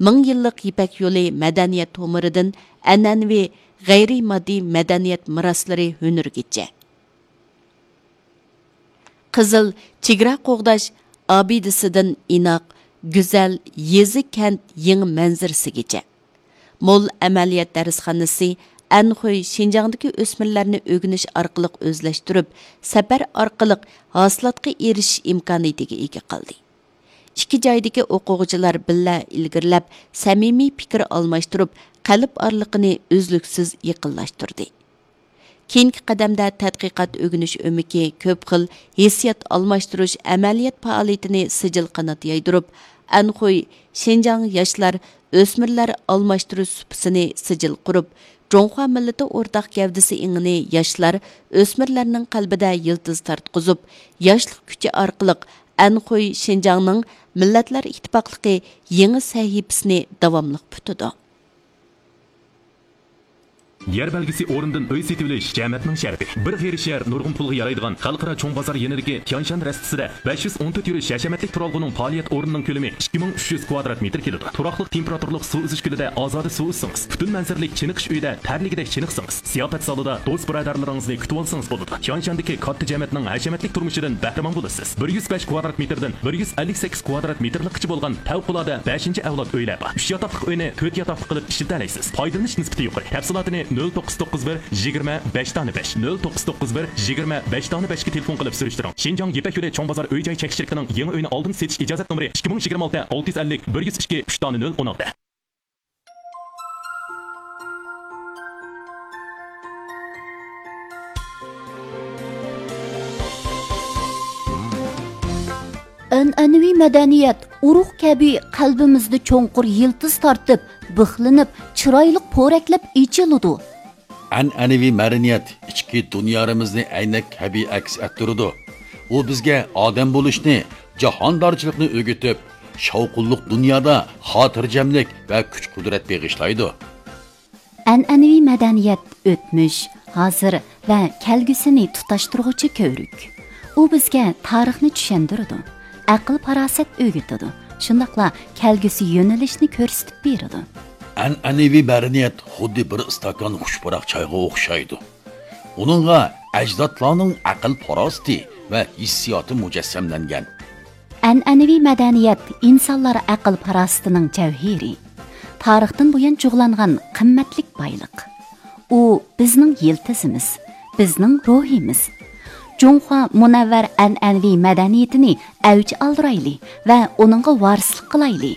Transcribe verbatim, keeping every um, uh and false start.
مىڭ يىللىق يىپەك يولى مەدەنىيەت تومۇرىدىن ئەنئەنىۋى غەيرىي ماددىي مەدەنىيەت مىراسلىرى ھۈنىرىگىچە. قىزىل چېگرا قوغداش ئابىدىسىدىن ئىناق، گۈزەل يېزا، كەنت يېڭى مەنزىرىسىگىچە. مول ئەمەلىيەت دەرسخانىسى ئەنخۇي شىنجاڭدىكى ئۆسمۈرلەرنى ئۆگىنىش ئارقىلىق ئۆزلەشتۈرۈپ، سەپەر ئارقىلىق ھاسىلاتقا ئېرىشىش ئىمكانىيىتىگە ئىگە قىلدى. ئىككى جايدىكى ئوقۇغۇچىلار بىللە ئىلگىرىلەپ، سەمىمىي پىكىر ئالماشتۇرۇپ، قەلب ئارىلىقىنى ئۈزلۈكسىز يېقىنلاشتۇردى. كېيىنكى قەدەمدە تەتقىقات ئۆگىنىش ئۆمىكى كۆپ خىل ھېسسىيات ئالماشتۇرۇش ئەمەلىيەت پائالىيىتىنى سىجىل قانات يايدۇرۇپ، ئەنخۇي شىنجاڭ ياشلار ئۆسمۈرلەر ئالماشتۇرۇش سۇپىسىنى سىجىل قۇرۇپ، جۇڭخۇا مىللىتى ئورتاق گەۋدىسى ئېڭىنى ياشلار، ئۆسمۈرلەرنىڭ قەلبىدە يىلتىز تارتقۇزۇپ، ياشلىق كۈچى ئارقىلىق ئەنخۇي شىنجاڭنىڭ مىللەتلەر ئىتتىپاقلىقى يېڭى سەھىپىسىنى داۋاملىق پۈتىدۇ. يەر بەلگىسى ئورنىدىن ئۆي سېتىۋېلىش جەمەتنىڭ شەرىپى. بىر غېرىب شەھەر نۇرغۇن پۇلغا يارايدىغان خەلقئارا چوڭ بازار يېنىدىكى تيانشان رەستىسىدە بەش يۈز ئون تۆت يۈرۈش ھەشەمەتلىك تۇرالغۇنىڭ پائالىيەت ئورنىنىڭ كۆلىمى ئىككى مىڭ ئۈچ يۈز كۋادرات مېتىر كېلىدۇ. تۇراقلىق تېمپېراتۇرىلىق سۇ ئۈزۈش كۆلىدە ئازادە سۇ ئۈزسىڭىز، پۈتۈن مەنزىرىلىك چېنىقىش ئۆيىدە تەرلىگۈدەك چېنىقسىڭىز، سىياپەت زالىدا دوست-بۇرادەرلىرىڭىزنى كۈتۈۋالسىڭىز بولىدۇ. تيانشاندىكى كاتتا جەمەتنىڭ ھەشەمەتلىك تۇرمۇشىدىن بەھرىمەن بولىسىز. بىر يۈز بەش كۋادرات مېتىردىن بىر يۈز ئەللىك سەككىز كۋادرات مېتىرلىققىچە بولغان پەۋقۇلئاددە بەشىنچى ئەۋلاد ئۆيلەر بار. ئۈچ ياتاقلىق ئۆينى تۆت ياتاقلىق قىلىپ ئىشلىتەلەيسىز. پايدىلىنىش نىسبىتى يۇقىرى. تەپسىلاتىنى نۆل توققۇز توققۇز بىر يىگىرمە بەش دانە بەش، نۆل توققۇز توققۇز بىر يىگىرمە بەش دانە بەشكە تېلېفون قىلىپ سۈرۈشتۈرۈڭ. شىنجاڭ يىپەك يولى چوڭ بازار ئۆي-جاي چەك شىركىتىنىڭ يېڭى ئۆينى ئالدىن سېتىش ئىجازەت نومۇرى ئىككى مىڭ يىگىرمە ئالتە ئالتە يۈز ئەللىك بىر يۈز ئىككى ئۈچ دانە نۆل ئون ئالتە. ئەنئەنىۋى مەدەنىيەت ئۇرۇق كەبى قەلبىمىزدە چوڭقۇر يىلتىز تارتىپ، بىخلىنىپ، چىرايلىق پورەكلەپ ئېچىلىدۇ. ئەنئەنىۋى مەدەنىيەت ئىچكى دۇنيارىمىزنى ئەينەك كەبى ئەكس ئەتتۈرىدۇ. ئۇ بىزگە ئادەم بولۇشنى، جاھاندارچىلىقنى ئۆگىتىپ، شاۋقۇنلۇق دۇنيادا خاتىرجەملىك ۋە كۈچ-قۇدرەت بېغىشلايدۇ. ئەنئەنىۋى مەدەنىيەت ئۆتمۈش، ھازىر ۋە كەلگۈسىنى تۇتاشتۇرغۇچى كۆۋرۈك. ئۇ بىزگە تارىخنى چۈشەندۈرىدۇ، ئەقىل-پاراسەت ئۆگىتىدۇ، شۇنداقلا كەلگۈسى يۆنىلىشنى كۆرسىتىپ بېرىدۇ. ئەنئەنىۋى مەدەنىيەت خۇددى بىر ئىستاكان خۇش پۇراق چايغا ئوخشايدۇ. ئۇنىڭغا ئەجدادلارنىڭ ئەقىل-پاراسىتى ۋە ھېسسىياتى مۇجەسسەملەنگەن. ئەنئەنىۋى مەدەنىيەت ئىنسانلار ئەقىل-پاراسىتىنىڭ جەۋھىرى، تارىختىن بۇيان جۇغلانغان قىممەتلىك بايلىق. ئۇ بىزنىڭ يىلتىزىمىز، بىزنىڭ روھىمىز. جۇڭخۇا مۇنەۋۋەر ئەنئەنىۋى مەدەنىيىتىنى ئەۋج ئالدۇرايلى ۋە ئۇنىڭغا ۋارىسلىق قىلايلى.